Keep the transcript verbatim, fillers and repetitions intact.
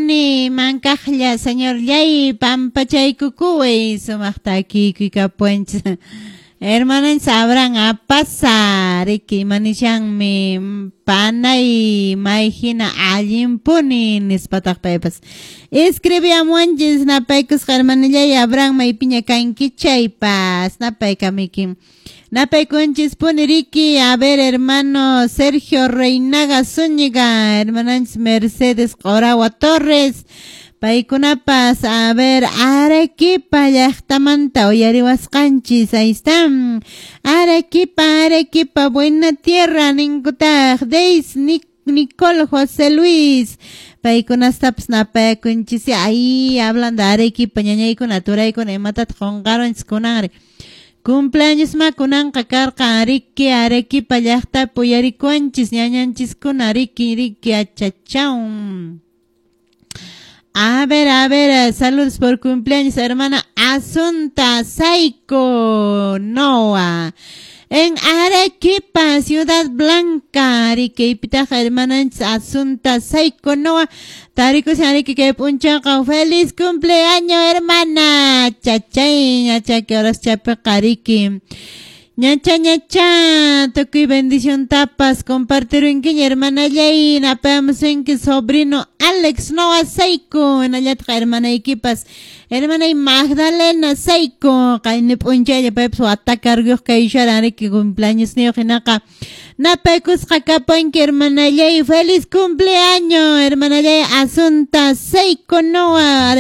Kani mankaqlla, Señorllay, pampachaykukuway, sumaq takiykuy kapuwanchis. Hermananchis Abraham Apasa, riki, imanishanmi panay may hina allinpuni nispataq paypas escribiamuwanchis. Napaykusqa, hermanillay Abraham, maypiña kanki chaypas napaykamiki, napaykunchispuni riki. A ver, hermano Sergio Reinaga Zúñiga, hermananchis Mercedes Qorawa Torres, paykunapas, a ver, Arequipa llaqtamanta uyariwasqanchis. Ahí están. Arequipa, Arequipa, buena tierra ninkutaq. Deis Nicole José Luis, paykunastapas napayakunchis. Ahí hablando Arequipa, ñañaykuna, turaykuna, imatataq qunqarunchis kunanri? Cumpleaños ma kunanqa karqan riki. Arequipa llaqtapi uyarikuwanchis ñañanchiskuna riki, riki, achachaw. A ver, a ver, saludos por cumpleaños, hermana Asunta Saiko Noa. En Arequipa, Ciudad Blanca, Arequipa, hermana Asunta Saiko Noa. Tarikushan riki kay p'unchawqa. Feliz cumpleaños, hermana. Chachay, ñacha, que horas chapiqa riki. Ñacha, ñacha, tukuy bendición tapas, compartirunkiña, hermanallay, napayamusunki sobrino Alex Noa Saiko, hinallataq hermanaykipas, hermanay Magdalena Saiko, qayni p'unchaylla paypas wata carguyuq kayusharan riki, cumpleaños niyuq hinaqa, napaykusqa kapanki, hermanallay, feliz cumpleaños, hermanallay Asunta Saiko Noa.